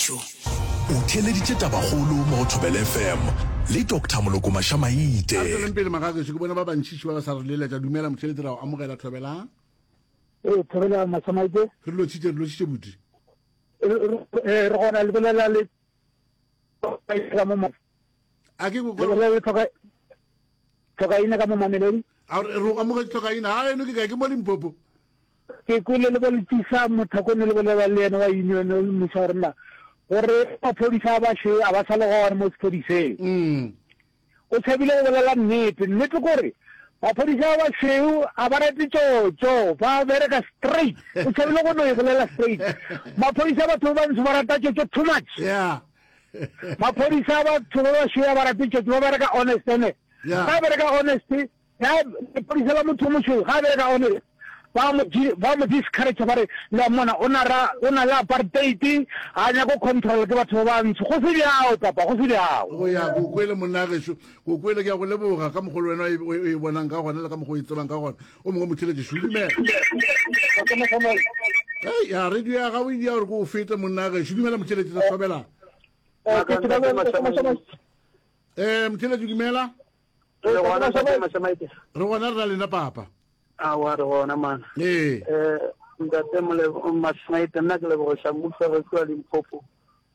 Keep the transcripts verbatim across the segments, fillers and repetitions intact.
gešo. O theeleditše Tabakgolo mo go Thobela F M le Doctor Moloko Mašamaite. A re tsweleng pele, magagešo, ke bona ba bantšiši ba ba sa re leletša. Dumela motheeletši, ra o amogela Thobela. Ee, Thobela Mašamaite. Re lotšhitše, re lotšhitše buti. Re gona le bolela le ka mo A ke le bolela le tlhoka tlhokaina ka mo Mamelodi. A re o amogetše tlhokaina. Ga eno ke kae? Ke mo Limpopo. Ke kwele le boletisa mothakone le bolela le yena wa union o mmuša gore nna gore maphodisa a bašweu a ba sa le gona mo sephodiseng. Mm. O tshabile go bolela nnete. Nnete kore maphodisa a bašweu a ba rate tšotšo, ba bereka straight. O tshabile go no e bolela straight. Maphodisa a batho ba bantsho ba rata tšotšo too much. Yeah. Maphodisa a batho ba bašweu a ba rate tšotšo, ba bereka honest ene. Yeah. Ga bereka honest, ya lepodisa la motho o mošweu ga bereka honest, ba mo ba mo discourage, ba re le mona o na ra o na le apartheid, ga nyako control ke batho ba bantsho. Go se bjao, papa, go se bjao. Go ya ko kwele, monna gešo, ko kwele. Ke ya go leboga ka mogolo wena o e bonang ka gona le ka mokgwa o e tsebang ka gona. O mongwe motheletši, dumela. Ei, ya radio ya gago e dia gore ko o fete, monna gešo. Dumela motheletši, re thobela. um motheletši, dumela. Re gona, tate Mašamaite. Re gona, re na lena, papa. Awa, re gona mana. Ee. um ntate Mašamaite, nna ke lebogiša mmuso ge kua Limpopo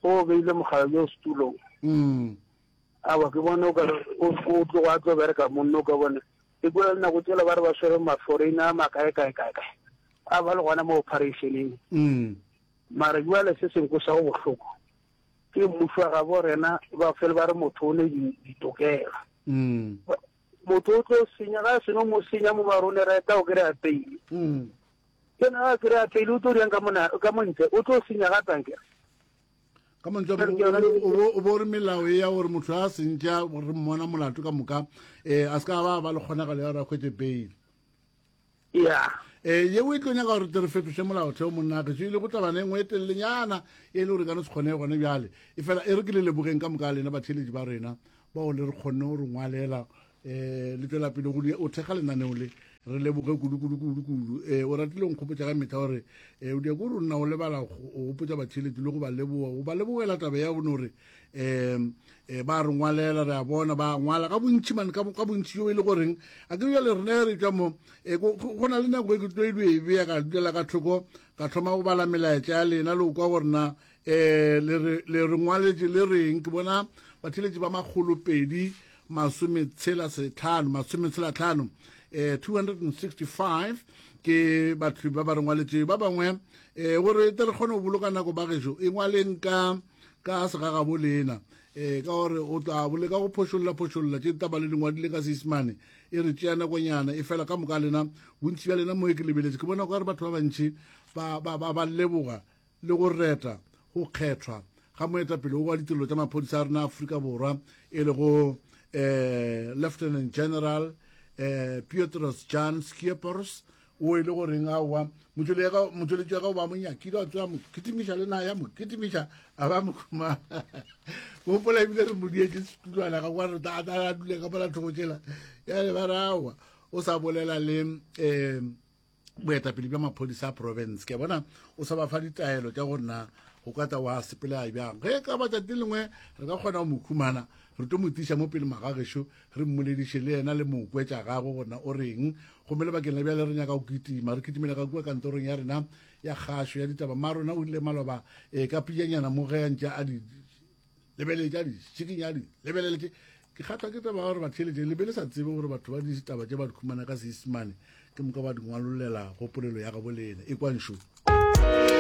go beile mogala jo setulong. Mm. Awa, ke bone o kare o tlogo a tlo bereka monno o ka bone ke kua nako tsela ba re ba swere ma-foreigner a makae kae kae kae a ba le gona mo operationeng. Mm. Mara jale se sengwe sa go bohloko ke mmuso wa gabo rena ba fele ba re motho o ne ditokelo. Mm. Motho o tlo senya ga a seno mo senya mo marone reta o kry-a peile. Mm. Ke na a kry-a peile, o tlo diang ka mona ka montle, o tlo senya gape ankere. Ka mantswe o bo re melao e ya gore motho a sentša re mmona molato ka moka, um a se ka ba ba le kgonagalo ya gore a kgwetse bail. Ya. um yeo e tlo nyaka gore tle re fetoše molaotheo, monna gešo, e le go tabana e nngwe e telelenyana e le gore ka no se kgone gone bjale. E fela e re ke le lebogeng ka moka lena batheeletši ba rena bao le re kgonne go re ngwalela, um le tswela pele go o thekga lenaneo le. Re leboge kudu kudu kudu kudu. um o ratile nkgopotša ka metlha gore um o dia ko rona o lebala go gopotša batheeletši le go ba leboga, go ba lebogela taba ya bone gore um ba re ngwalela, re a bona ba ngwala ka bontši mane, ka bontši jo e le goreng a ke bjale rena re tswa mo. Go na le nako e ke tlo e e beya ka dulela ka thoko, ka thoma go bala melaetša ya lena le go kwa gore na um le re ngwaletše le reng. Ke bona batheeletši ba makgolo pedi masometshela setlhano masometshela tlhano, um two hundred and sixty-five ke batho ba ba re ngwaletše. Ba bangwe um gore tle re kgone go boloka nako, ba gešo, e ngwaleng ka ka segagabo lena, um ka gore o tla boleka go phošolla phošolla tše taba le dingwadile ka Seisemane, e re tšea nakonyana. E fela ka moka lena, bontši bja lena mo e ke lebeletše, ke bona kare batho ba bantši ba ba ba ba leboga le go reta go kgethwa ga moetapele wa ditirelo tša maphodisa a rena Afrika Borwa, e le go um Lieutenant General um Petrus Jan Scheepers, o e le goreng aowa motšweletši wa gago ba mo nyakile, wa tseba mo kitimiša le na ya mo kitimiša a ba mo khumana. Gopola ebile re mo dietse setulwana ga kwa re a dule ka mola thoko tšela yale, ba re aowa o sa bolela le um boetapele bja maphodisa a province. Ke bona o sa ba fa ditaelo tša gore na go ka tla wa sepela bjang. Ge ka batšatši lengwe re ka kgona go mo khumana, re tlo mo tiša mo pele magagešo, re mmolediše le yena le mo kwetša gagwe gorena o reng. Gomme lebakeng la bjale re nyaka go kitima, re kitimela ka kua kantorong ya rena ya kgašo ya ditaba. Mma rona o ile maloba um ka pijanyana mo ge a ntše a di lebeletše, a di šikinya, a di lebeleletše. Ke kgatlwa ke taba gore batheeletše le be le sa tsebe gore batho ba ditaba tše ba di khumana ka Seisemane, ke moka ba di ngwalolela go polelo ya gabo lena e kwanšo.